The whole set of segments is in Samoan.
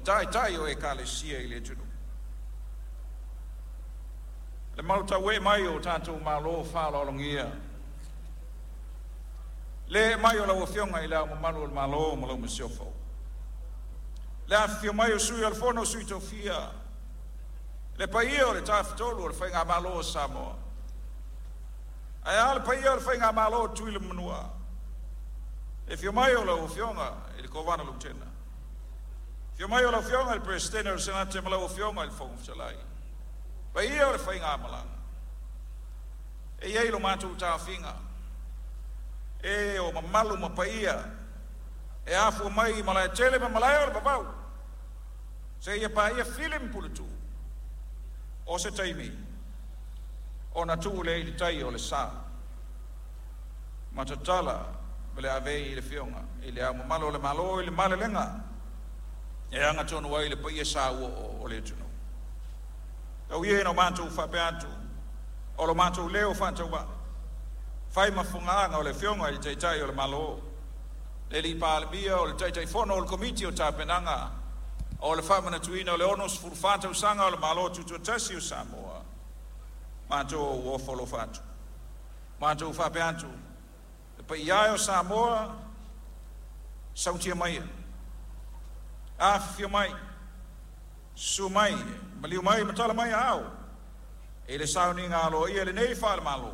Taitai o Ekalesia i le atunuu. Le malu mai o tatou malo faaaloalogia, le ee mai o lau Afioga i Le Ao Mamalu o le Malo ma lau Masiofo, le afifio mai o Sui o le Fono a Sui Tofia, le paia o le Tafatolu o le Faigamalo a Samoa, ae a le paia o le Faigamalo a Tutuila ma Manua, le afio mai o lau Afioga i le Kovana Lutena, afio mai lau Afioga i le Peresetene o le Senate ma lau Afioga i le Fofoga Fetalai, paia o le faigamalaga. E i ai lo matou taofiga, e o mamalu ma paia e afua mai Malaetele ma malae o le vavau seia paia Fili ma Puletuu. O se taimi ona tuu lea i le tai o le sa ma tatala le avei i le Afioga i Le Ao Mamalu o le Malo i le malelega e agatonu ai le paia sauoo o le atunuu. Tau ia ina o matou faapea atu, o lo matou leo faatauvaa, fai ma fofogaaga o le Afioga i le Taitai o le Malo, le alii Palemia, o le Taitaifono o le Komiti o Tapenaga o le Faamanatuina o le 64 Tausaga o le Malo Tutoatasi o Samoa, matou ofo alofa atu. Matou faapea atu, le paia e o Samoa, sautia maia, afifio mai, susu mai, maliu mai ma tala mai aao i le sauniga aloaia lenei faale-Malo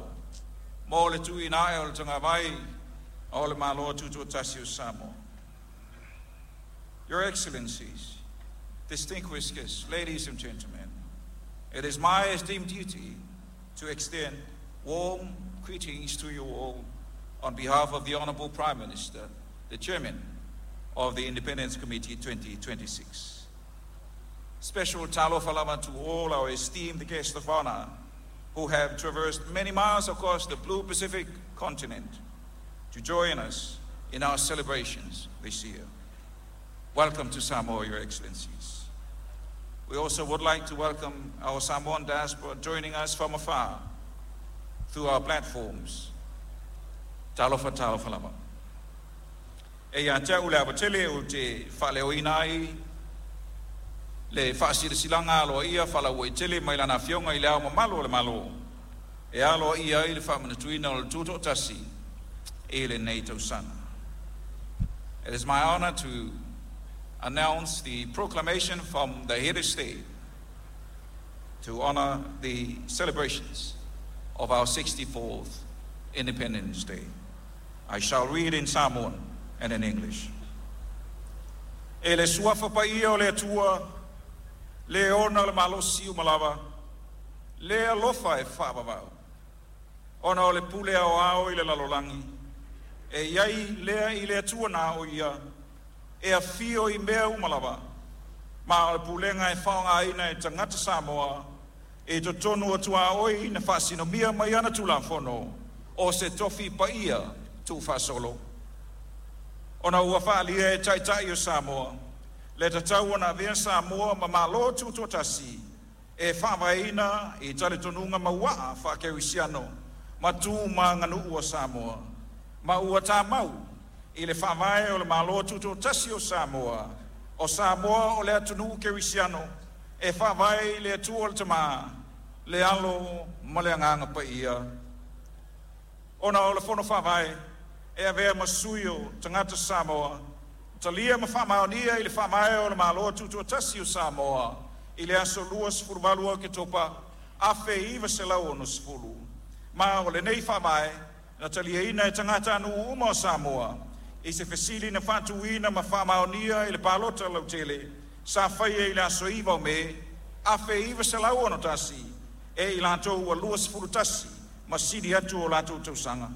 mo le tuuina ae o le tagavai o le Malo Tutoatasi o Samoa. Your Excellencies, distinguished guests, ladies and gentlemen, it is my esteemed duty to extend warm greetings to you all on behalf of the Honorable Prime Minister, the Chairman of the Independence Committee 2026. Special talofa lava to all our esteemed guests of honor who have traversed many miles across the blue Pacific continent to join us in our celebrations this year. Welcome to Samoa, Your Excellencies. We also would like to welcome our Samoan diaspora joining us from afar through our platforms. Talofa talofa lava. E ia te au le ava tele ou te faaleoina ai le faasilasilaga aloaia faalauaitele mai Lana Afioga i Le Ao Mamalu o le Malo e aloaia ai le faamanatuina o le Tutoatasi i lenei tausaga. It is my honor to announce the proclamation from the head of state to honor the celebrations of our 64th Independence Day. I shall read in Samoan and in English. E le suafa paia o le Atua, le ona le malosi uma lava, le alofa e faavavau, ona o le pule ao ao i le lalolagi, e iai lea i le Atua na o ia, e afio i mea uma lava, ma o le pulega e faaaogaina e tagata Samoa, i totonu o tuaoi na faasinomia mai ana Tulafono, o se tofi paia tuufaasolo. Ona ua faaalia e Taitai o Samoa, le tatau ona avea Samoa ma Malo Tutoatasi, e faavaeina i talitonuga mauaa faakerisiano ma tu ma aganuu a Samoa, ma ua tamau i le faavae o le Malo Tutoatasi o Samoa, o Samoa o le atunuu kerisiano e faavae i le Atua le Tamā, le Alo ma le Agaga Paia. Ona o le Fono Faavae e avea ma sui o tagata Samoa, talia ma faamaonia i le Faavae o le Malo Tutoatasi o Samoa i le aso 28 Oketopa 1960, ma o lenei faavae na taliaina e tagatanuu uma o Samoa i se fesili na faatuina ma faamaonia i le palota lautele sa faia i le aso 9 o Me 1961 e i latou ua 21 ma sili atu o latou tausaga.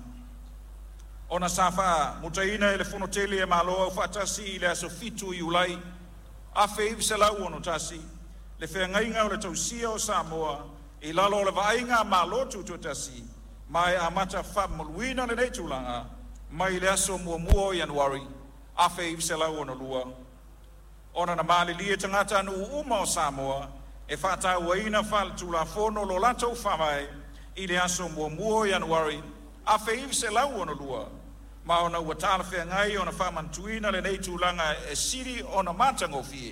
Ona sa faamutaina e le Fono Tele a Malo Aufaatasi i le aso 7 Iulai 1961 le feagaiga o le tausia o Samoa i lalo o le vaaiga a Malo Tutoatasi, ma e amata faamamaluina lenei tulaga mai le aso 1 o Ianuari 1962. Ona na malilie tagatanuu uma o Samoa e faatauaina faaletulafono lo latou faavae i le aso 1 o Ianuari 1962, ma ona ua talafeagai ona faamanatuina lenei tulaga e sili ona matagofie